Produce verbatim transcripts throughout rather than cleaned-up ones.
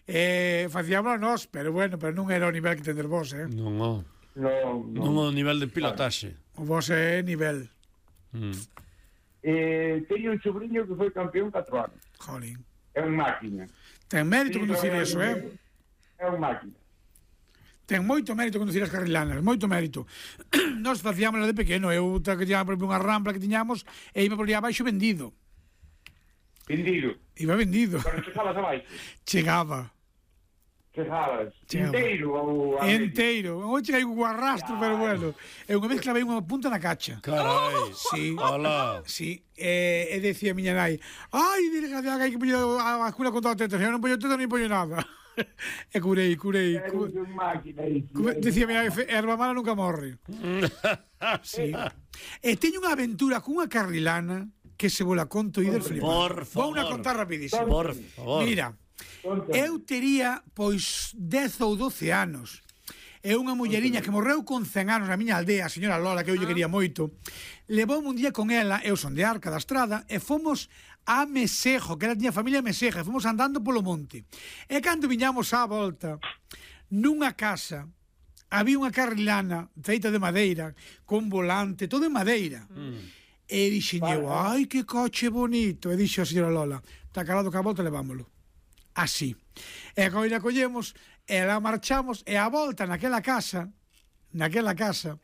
eh, facíamos nós, pero bueno, pero non era o nivel que tendes vos, eh? Non, non. No, no. Non o nivel de pilotaxe. O vos é nivel. Mm. Eh, teño un sobrinho que foi campeón catro anos. Jolín. É un máquina. Ten mérito Sí, conducir é un- eso, eh? É un máquina. Ten moito mérito conducir as carrilanas, moito mérito. Nós facíamos de pequeno, eu que tiñamos por exemplo, unha rampla que tiñamos e iba por ali abaixo vendido. Vendido. Iba vendido. Pero chegabas abaixo. Chegaba. Chegabas. Chegaba. Inteiro. Ao, a Entero. Non cheguei con arrastro, pero bueno. E unha vez clavei unha punta na cacha. Carai. Sí. Hola. Sí, e, e decía a miña nai, ai, desgraciada, que hai que poñer a, a cura con todo tetas, eu non poño tetas nin poño nada. E curei, curei. Era Cu, un máquina. cu, decía a miña nai, erva mala nunca morre. Sí. E teño unha aventura cunha carrilana que se vos la conto e del flipar. Por favor. Vou unha contar rapidísimo. Por favor. Mira, eu tería, pois, dez ou doce anos. É unha mulleriña que morreu con cen anos na miña aldea, a señora Lola, que eu lle quería moito. Levoume un día con ela, eu son de Arca da Estrada, e fomos a Mesejo, que ela tiña familia Meseja, e fomos andando polo monte. E cando viñamos á volta, nunha casa, había unha carrilana feita de madeira, con volante, todo en madeira. Mm. E dixen eu, ai, que coche bonito. E dixo a señora Lola, está calado que a volta levámoslo. Así. E coi la collemos, e la marchamos, e a volta naquela casa, naquela casa,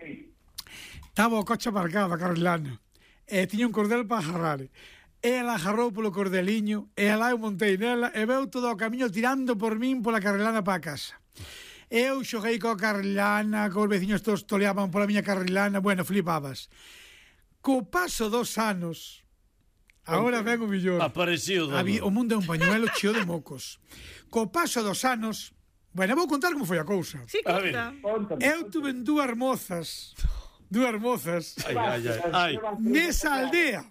estaba o coche aparcado a carrilana, e tiña un cordel para agarrar. E ela agarrou polo cordeliño, e lá eu montei nela, e veu todo o camiño tirando por min pola carrilana para a casa. Eu xoguei coa carrilana, cos veciños todos toleaban pola miña carrilana, bueno, flipabas. Co paso dos anos, agora ven o millón. Aparecido. Había, o mundo é un pañuelo cheo de mocos. Co paso dos anos, bueno, vou contar como foi a cousa. Sí, conta. Eu tuve dúas mozas, dúas mozas, Ai, ai, ai. ai. nesa aldea,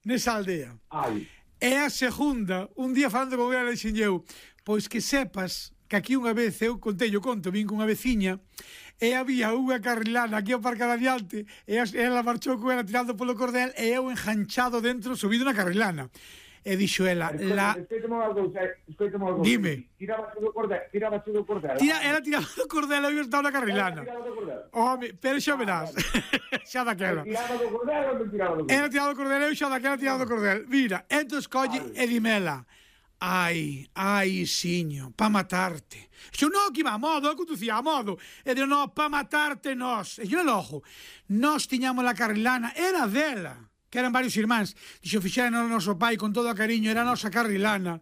nesa aldea. Ai. E a segunda, un día falando con ela, dixen eu, pois que sepas que aquí unha vez eu contei o conto, vin con unha veciña, e había unha carrilana aquí aparcada adiante, e ela marchou con ela tirando polo cordel, e eu enganchado dentro, subido na carrilana. E dixo ela, la... Dime. Tirabase do cordel, tirabase do cordel. Tira, ela tiraba do cordel e eu estaba na carrilana. Home, pero xa verás. Xa daquela. Tiraba do cordel ou non tiraba do cordel? Ela tiraba do cordel, eu xa daquela tiraba do cordel. Mira, entón colle e dimela. Ai, ai, siño, pa matarte. Xo, no, que iba a modo, eu conducía a modo. E digo, no, pa matarte nós. E xo, no, ojo, nós tiñamos la carrilana, era dela, que eran varios irmáns. Dixo, fixera no noso pai con todo o cariño, era a nosa carrilana.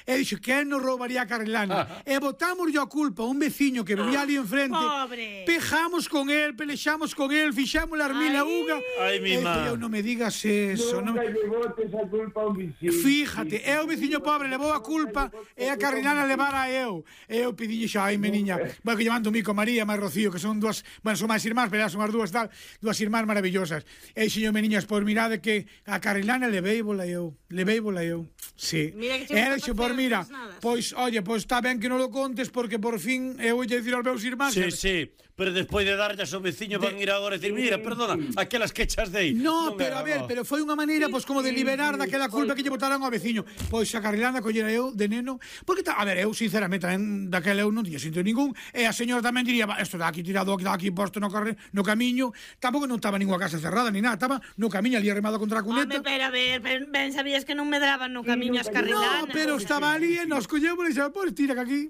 E dixo, que nos roubaría a carrilana? E botamos yo a culpa a un veciño que vivía ali enfrente. Pobre. Pejamos con el, pelexamos con el, fixamos la armila uga. Ai, mi E má. eu, non me digas eso, non Nunca lle botes a culpa a un vecino. Fíjate, é o veciño pobre levou a culpa e a carrilana levara eu. E eu pidille xa, ai, meniña, bueno, que llevando Mico, María, máis Rocío, que son dúas, bueno, son máis irmáns, pero son as dúas tal, dúas irmáns maravillosas. E xeño, meniñas, pois mirade que a carrilana leveíbola eu, leveíbola eu. Sí. Mira que che E gusta dixo, facer pois mira, as nadas. pois, oye, pois está ben que non lo contes porque por fin eu voulle dicir aos meus irmáns. Sí, sí, pero despois de darlle a seu veciño van ir agora e decir, mira, perdona, aquelas quechas dei. No, Non pero era, a ver, no. pero foi unha maneira pois como de liberar daquela culpa que lle botaran ao veciño. Pois a carrilana collera eu de neno, porque ta, a ver, eu sinceramente tamén daquela eu non tiña sentido ningún, e a señora tamén diría, isto está aquí tirado, está aquí posto no carre, no camiño, tampouco non estaba ninguna casa cerrada ni nada, estaba no camiño ali arremado contra a cuneta. Home, pero a ver, pero ben sabías que non medraban no camiño as carrilanas. No, pero estaba ali e nos collemos e xa, pois tira que aquí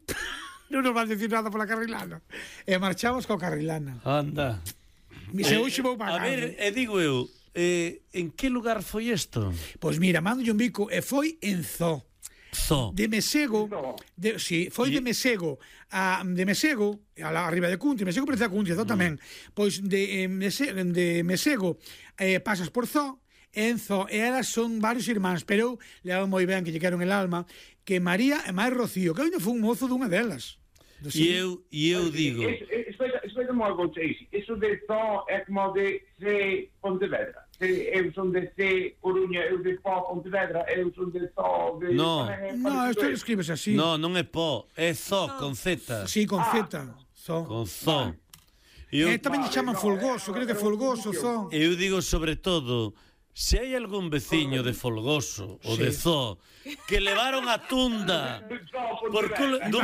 non nos van decir nada pola carrilana. E marchamos coa carrilana. Anda. Se Eh, hoxe vou pagar. A ver, e digo eu, eh, en que lugar foi isto? Pois mira, mando un bico e foi en Zoo. Zo. De Mesego, de, sí, foi de Mesego a de Mesego a la arriba de Cunti, Mesego parece a Cunti, Zo tamén. Pois de eh, Mese, de Mesego eh, pasas por Zo, en Zo, e elas son varios irmáns, pero eu levo moi ben que lle quero en el alma, que María e máis Rocío, que ainda foi un mozo dunha delas. E eu, e eu digo, Explica unha cousa, iso de Zo é como de C Pontevedra. Eu son de C Coruña, eu de Po Pontevedra, eu son de Zo de... No. No, isto escribes así. no, non é po, é zo con Z. Sí, con Z. Zo. Con zo. E eu, Eh, tamén lle chaman Folgoso, creo que Folgoso, Zo. eu digo sobre todo, se hai algún veciño de Folgoso ou de Zo que levaron a tunda por cul dunha